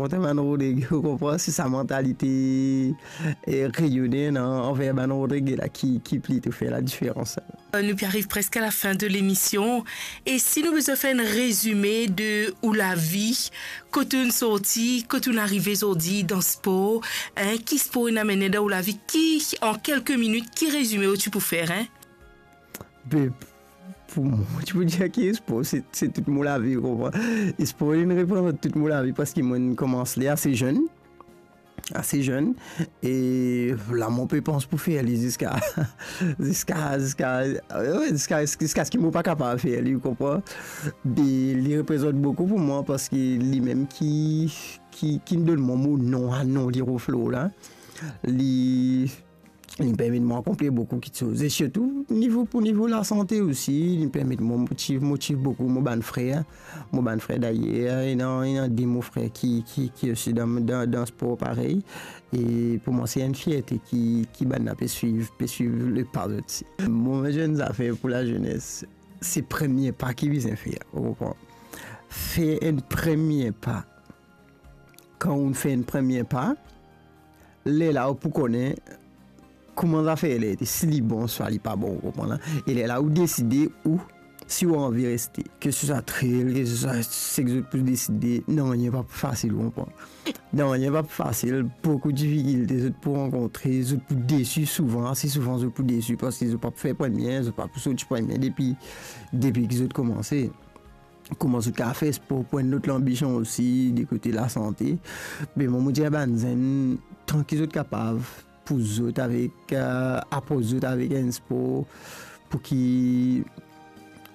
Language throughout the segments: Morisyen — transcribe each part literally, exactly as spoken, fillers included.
Kot bann Rodrig, ou konpran, se sa mantalite, eh, reyonnen, non, anver bann Rodrig la ki, ki plito fer ladiferans. Euh, nou pe ariv preske a lafin de lemision. E si nou bizin fer enn rezime de ou lavi, kot ou'nn sorti, kot ou'nn arive zordi dan spor, hein, ki spor inn amenn dan ou lavi, ki, an kelke minit, ki rezime ou ti pou fer, hein? Be, pou mwa, ti pou dir ki spor, se, se tou mo lavi, ou konpran? Spor, li reprezant tou mo lavi, parski mo'nn koumans li ase zenn, ase zenn, e la mo pe pans pou fer li ziska, ziska, ziska, wi, ziska, ziska ki mo pa kapav fer li, ou konpran? Be, li reprezant boukou pou mwa, parski limem ki, ki, ki donn mwa mo nom, a nom Liro Flo la. Li, li permet mwa akonpli boukou kiksoz. E sirtou, nivo, pou nivo lasante osi, li permet mwa motiv, motiv boukou mo bann frer, mo bann frer. Dayer, ena, ena de mo frer ki, ki, ki osi dan, dan, dan spor parey. E pou mwa, se enn fierte ki, ki bann la pe swiv, pe swiv lepa zot osi. Mo zenn zafer pou lazenes, se premie pa ki bizin fer, ou konpran? Fer enn premie pa. Kan ou fer enn premie pa, lerla ou pou kone kouma zafer la ete, si li bon, swa li pa bon, ou konpran la? E lerla ou deside ou, si ou anvi reste, ke se swa trail, ke se swa seki zot pou deside, nanye pa pou fasil, ou konpran? Nanye pa pou fasil, boukou difikilte zot pou rankontre, zot pou desi souvan, ase souvan zot pou desi, parski zot pa pou fer premie, zot pa pou sorti premie depi, depi ki zot koumanse. Kouma zot kapav fer spor pou enn lot lanbision osi, de kote lasante. Me mwa, mo dir bann zenn, tan ki zot kapav pou zot avek, eh, apros zot avek enn spor, pou ki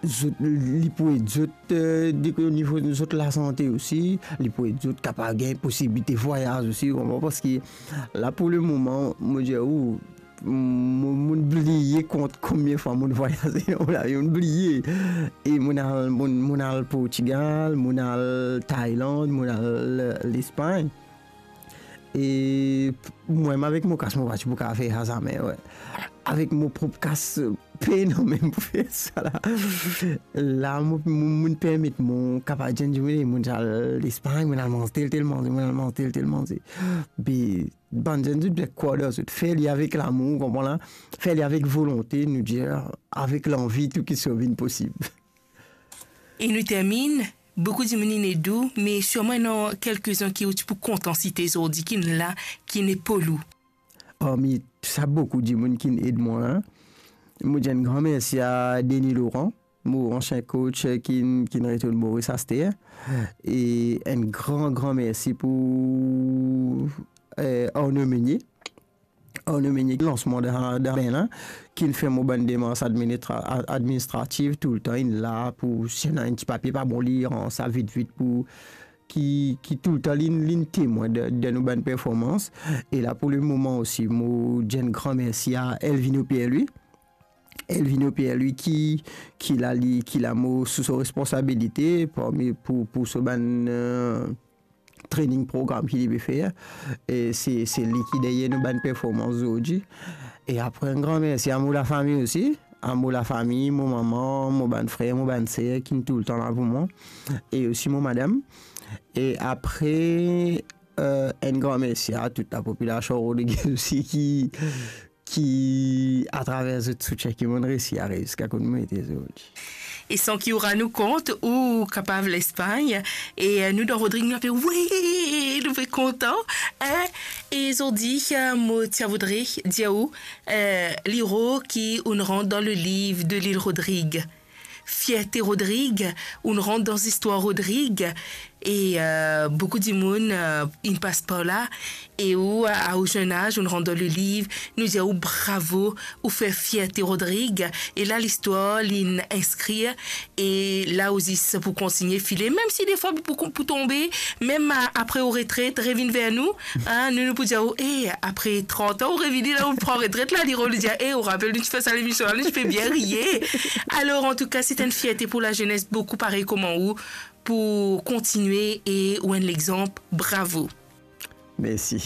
zot, li pou ed zot, eh, de, o nivo zot lasante osi, li pou ed zot kapav gagn posibilite vwayaz osi, ou konpran? Parski la, pou lemoman, mo dir ou, mo, mo'nn bliye kont konbien fwa mo'nn vwayaze dan mo lavi, mo'nn bliye. E mo'nn al, mo'nn, mo'nn al Portigal, mo'nn al Tailand, mo'nn al, eh, Lespagn. E p-, mwa mem avek mo kas, mo pa ti pou kapav fer sa zame, wi. Avek mo prop kas, pena mem pou fer sa la. La, mo, mo, mo'nn permet mwa kapav dir dimoun, "Mo'nn al Lespagn, mo'nn al manz tel, tel manze, mo'nn al manz tel, tel manze." Be, bann zenn, zot bizin krwar dan zot, fer li avek lamour, ou konpran la? Fer li avek volonte, nou dir, avek lanvi, tou kiksoz vinn posib. E nou terminn, boukou dimoun inn ed ou, me sirman ena kelkezinn ki ou ti pou kontan site zordi, ki'nn la, ki'nn epol ou. Parmi sa boukou dimoun ki'nn ed mwa la, mo dir enn gran mersi a Denis Laurent, mo ansien coach, eh, ki'nn, ki'nn retourn Moris aster. E enn gran, gran mersi pou, eh, Arnaud Meunier. Arnaud Meunier, lansman dan, dan Berlin, ki'nn fer mo bann demars administra-, a-, administrativ toultan, inn la pou si ena enn ti papie pa bon, li rans sa vit, vit pou ki, ki toultan li, li'nn temwin de, de nou bann performans. E la, pou lemoman osi, mo dir enn gran mersi a Elvino Pierre-Louis. Elvino Pierre-Louis ki, ki la, li, ki la mo sou so responsabilite, parmi, pou, pou so bann, eh, training program ki li pe fer. E se, se li ki deryer nou bann performans zordi. E apre, enn gran mersi a mo lafami osi, a mo lafami, mo mama, mo bann frer, mo bann ser, ki'nn toultan la pou mwa. E osi mo madam. E apre, eh, enn gran mersi a tou lapopilasion Rodriguez osi ki, ki, atraver zot soutien ki mo'nn resi ariv ziska kot mo ete zordi. E san ki ou rann ou kont, ou kapav Lespagn, e, eh, nou dan Rodrig, nou ape, wi, nou pe kontan, hein? E zordi, eh, mo ti a voudre dir ou, eh, Liro, ki ou'nn rant dan le liv de Lil Rodrig. Fierte Rodrig, ou'nn rant dan zistwar Rodrig, e, eh, boukou dimoun, eh, inn pas par la, e ou, a, a ou zenn az, ou'nn rant dan le liv, nou dir ou bravo, ou fer fierte Rodrig, e la listwar li'nn inskrir, e la ou zis pou kontigne file, mem si defwa pou, pou, pou tonbe, mem a, apre ou retret, revinn ver nou, hein, nou, nou pou dir ou, eh, apre trant an, ou revini la, ou pran retret la, Liro, nou dir, eh, ou rapel, nou ti fer sa lemision la, nou ti pe bien riye. Alor, antouka, se enn fierte pou lazenes, boukou parey kouma ou, pou kontigne e ou enn lexanp, bravo. Mersi.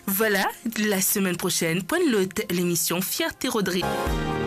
Vwala, la semenn prosenn, pou enn lot lemision Fierte Rodrig.